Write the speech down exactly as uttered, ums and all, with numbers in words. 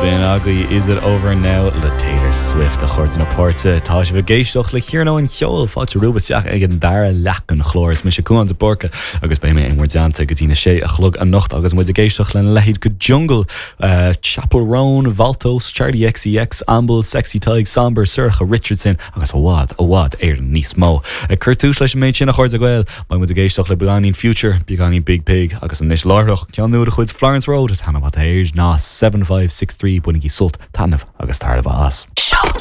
B'in agaibh Is It Over Now le Taylor Swift a chairde na páirte tá sibh ag éisteacht le Cearnóg an Cheoil fáilte romhaibh isteach ag an dara leath den chlár is mise Cuán de Búrca agus beidh mé in bhur dteannta go dtí a sé a chlog anocht agus muid ag éisteacht lena leithéid de Jungle, uh, Chappell Roan, Valtos, Charli XCX, Amble, Sexy Tig, Sombr, Sorcha Richardson agus i bhfad i bhfad Éireann níos mó. Ag cur tús leis an méid sin a chairde Gael, beidh muid ag éisteacht le beagáinín Future, beagáinín Biig Piig agus anois láithreach ceann nua de chuid Florence Road tanna air ná seven five six three bainigí sult taitneamh agus tairbhe as. Show